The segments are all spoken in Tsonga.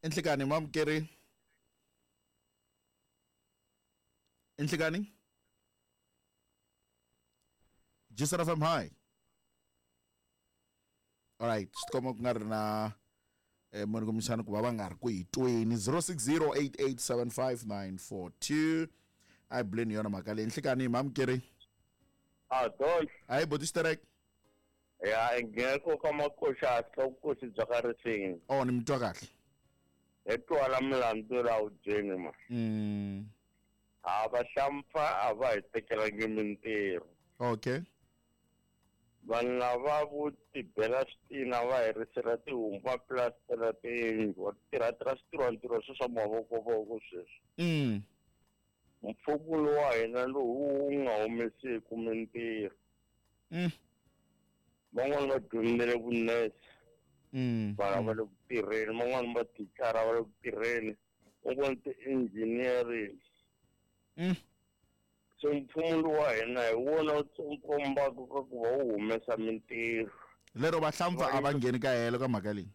Inhlekani mamukeri. Inhlekani. Jisara FM hi. All right, swi tikomba ku nga ri na munhu kumbexana ku va va nga ri ku hi tweni 0608875942 a hi buleni yona mhaka leyi nhlikani mamukeri. A don. Hayi boti xiterek. Ya ngeko ka makoxa ka vukosi bya ka risini. Oh ni mi twa kahle. Hi twala milandzu la wubyeni ma. A va hlampfa a va hi tekelangi mintirho. Okay. Vanhu lava vo tibela switina va herisela tihomu va plastela tiyindlu va tirha tirha switirhwantirhwa swe swa mavokovoko sweswi. Mfumo lowu wa hina lowu wu nga humesiku mintirho. Van'wani va dyondzele vunese vana va le ku tirheni, van'wani va thicara va le ku tirheni, van'wani ti-engineering. So mfumo lowu wa hina hi wona wu kombaka ka ku va wu humesa mintirho. Lero vahlampfa a va ngheni ka helo ka mhaka leyi.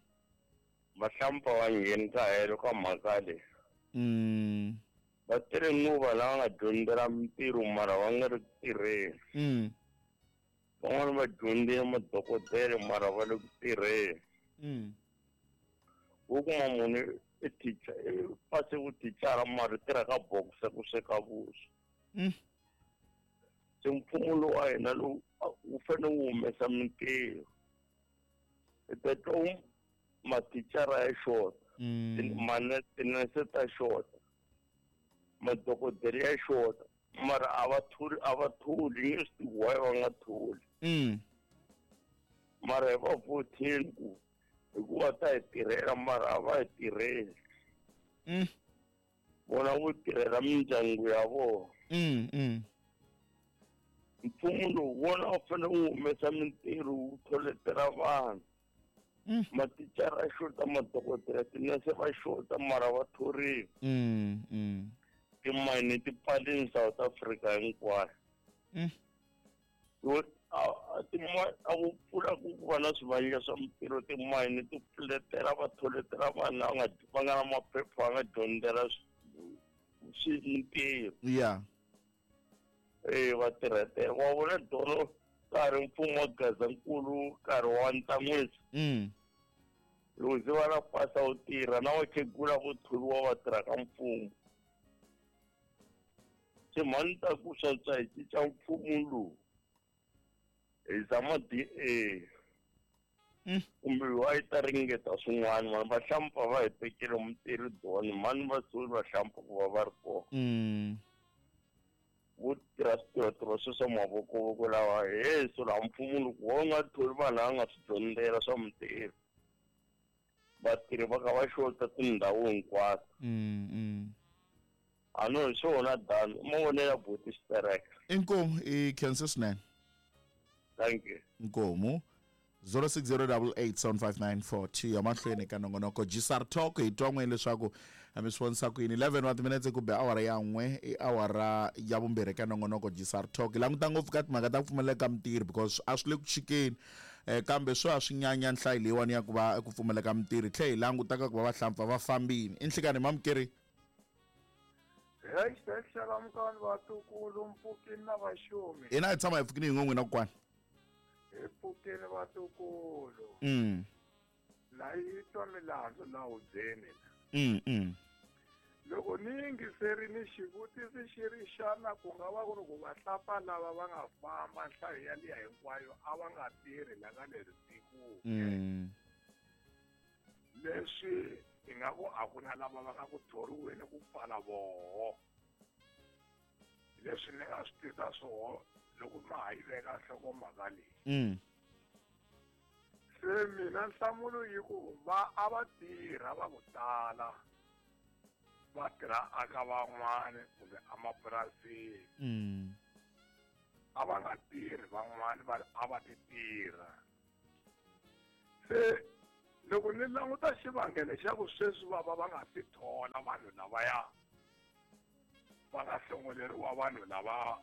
Vahlampfa va ngheni ka helo ka mhaka leyi. Va tirhe nguva lava nga dyondzela mintirho mara va nga ri ku tirheni. Van'wani va dyondzile madokodela mara va le ku tirheni. Wo kuma munhu i teacher, i pase vuthicara mara tirha ka boxa ku sweka vuswa. Se mfumo lowu wa hina lowu wu fanele wu humesa mintirho. Hi ta twa mathicara ya xota, tinese ta xota, madokodela ya xota, mara a va tholi nge swi tivi why va nga tholi. Mara hi va votheni ku hikuva ta hi tirhela mara a va hi tirheli. Vona vo tirhela mindyangu ya vona. Mfumo lowu wona wu fanele wu humesa mintirho wu tholetela vanhu. Mathicara ya xota, madokodela, tinese va xota mara va thoriwa. Timayini ti pfalini South Africa hinkwayo. A wu pfula ku va na swivandla swa mintirho, timayini ti pfuletela va tholetela vanhu lava va nga na maphepha va nga dyondzela mintirho. Yeah. Va tirhetela. Wa vona dono nkarhi mfumo wa Gazankulu nkarhi wa Ntsan'wisi. Loko se va la pasa wu tirha na vakhegula vo thoriwa va tirha ka mfumo. Se mhani ta ku swantswa hi cinca mfumo lowu. Hi zama DA. Kumbe wa yi ta ringeta swin'wana vanhu va hlampfa va hi tekele mintirho doni mhani va suli va hlampfa ku va va ri kona. Vo tirha switirhotirho swe swa mavokovoko lawa he so laha mfumo loko wo nga tholi vanhu lava nga swi dyondzela swa mintirho vatirhi va ka va xota tindhawu hinkwato. A no hi swona dani mavonelo ya buti xitereka. Inkomu i khensa swinene. Thank you. Inkomu 0608875942 ya mahlweni ka nongonoko GSR Talk hi twa n'we leswaku mi swi vonisa ku yini 11 wa timinetse ku be awara ya n'we i awara ya vumbirhi ka nongonoko GSR Talk. Hi languta ngopfu ka timhaka ta ku pfumaleka ka mintirho because a swi le ku chikeni kambe swi a swi nyanya nhlayo leyiwani ya ku va ku pfumaleka mintirho, hi tlhela hi languta ka ku va vahlampfa va fambini. I nhlikani mamukeri. Hashtag xalamukani vatukulu mpfukini na vaxumi. Hina hi tshama hi pfukini hi n'we n'wina kokwana. Hi pfukini vatukulu. La yi twa milandzu la hubyeni. Loko ni yingiserini xivutiso xi ri xana ku nga va ku ri ku vahlapfa lava va nga famba nhlayo ya liya hinkwayo a va nga tirhi la ka leri tiko. Leswi ingaku a ku na lava va nga ku thoriweni ku pfala voho. Leswi ni nga swi tisa swoho loko ma ha yi veka nhlokomhaka leyi. Se mina nhlamulo yi ku va a va tirha va ku tala va tirha aka van'wani kumbe emapurasini. A va nga tirhi van'wani va a va ti tirha. Se loko ni languta xivangelo xa ku sweswi va va va nga si thola vanhu lavaya va nga hlongoleriwa vanhu lava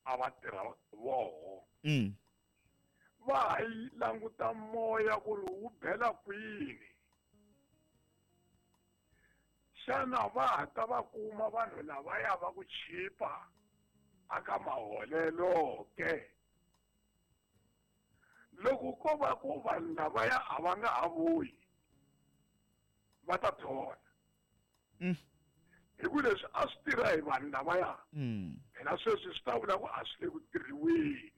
a va tirha voho. Va yi languta moya ku ri wu bela kwini. Xana va ha ta va kuma vanhu lavaya va ku chipa aka maholelo ke? Loko ko va ku vanhu lavaya a va nga ha vuyi, va ta thola. Hi ku leswi a swi tirha hi vanhu lavaya, phela sweswi swi ta vula ku a swi le ku tirhiweni.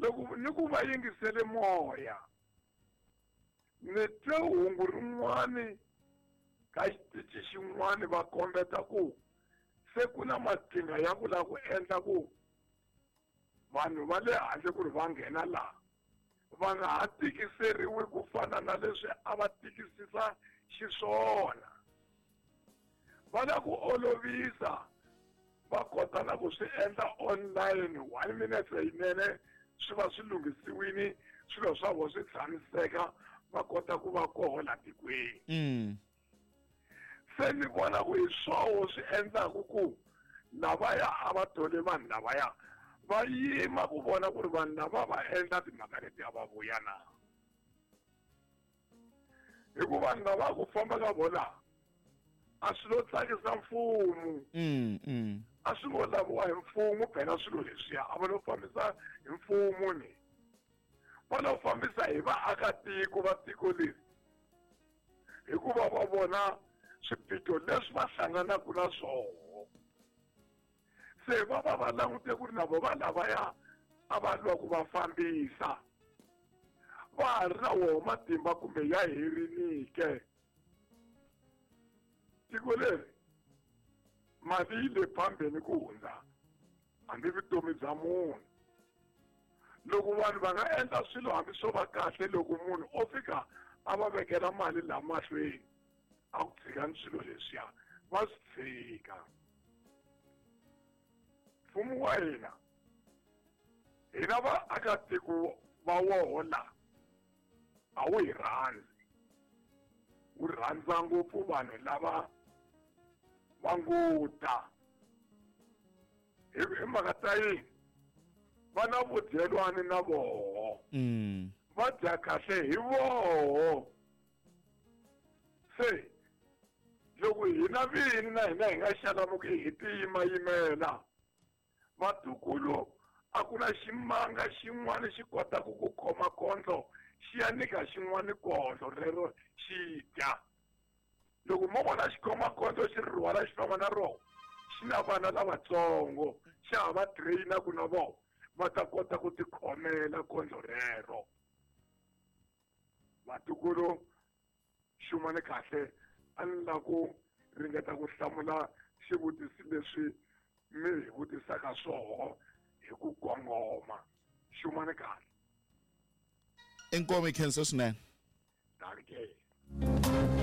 Loko ni ku va yingisele moya, ni twe hungu rin'wani ka xitichi xin'wani va kombeta ku se ku na maqhinga ya ku lava ku endla ku vanhu va le handle ku ri va nghena laha va nga ha tikiseriwi ku fana na leswi a va tikisisa xiswona. Va la ku olovisa, va kota na ku swi endla online 1 minute leyinene, swi va swi lunghisiwile, swilo swa vona swi tshamiseka, va kota ku va koho la tikweni. Se ni vona ku hi swoho swi endlaku ku lavaya a va thole vanhu lavaya va yima ku vona ku ri vanhu lava va endla timhaka leti a va vuya na. Hi ku vanhu lava ku famba ka vona a swi lo tsakisa mfumo. A swi ngo laviwa hi mfumo phela swilo leswiya a va lo fambisa hi mfumo ni. Va lo fambisa hi vaakatiko va tiko leri. Hikuva va vona swiphiqo leswi va hlanganaka na swona. Se va va va langute ku ri na vo va lavaya a va lwa ku va fambisa. Va ha ri na woho matimba kumbe ya herile. Tiko leri mali yi le phambeni ku hundza hambi vutomi bya munhu. Loko vanhu va nga endla swilo hambi swo va kahle, loko munhu o fika a va vekela mali laha mahlweni a ku tshikani swilo leswiya, va swi tshika. Mfumo wa hina, hina vaakatiko va woho la a wu hi rhandzi, wu rhandza ngopfu vanhu lava va ngo ta. Hi mhaka ta yini? Va na vudyelwani na voho. Va dya kahle hi voho. Se loko hina vini na hina hi nga xalamuki hi tiyimayimela, vatukulu a ku na ximanga xin'wana xi kotaka ku khoma kondlo xi ya nyika xin'wana kondlo rero xi dya. Loko mo vona xi khoma kondlo xi ri rhwala xi famba na rona, xi na vana lavatsongo, xa ha va train-a ku na vona va ta kota ku tikhomela kondlo rero. Vatukulu, xumani kahle, a ni lava ku ringeta ku hlamula xivutiso leswi mi hi vutisaka swoho hi ku kongoma. Xumani kahle. Inkomu, hi khensa swinene. Dankie.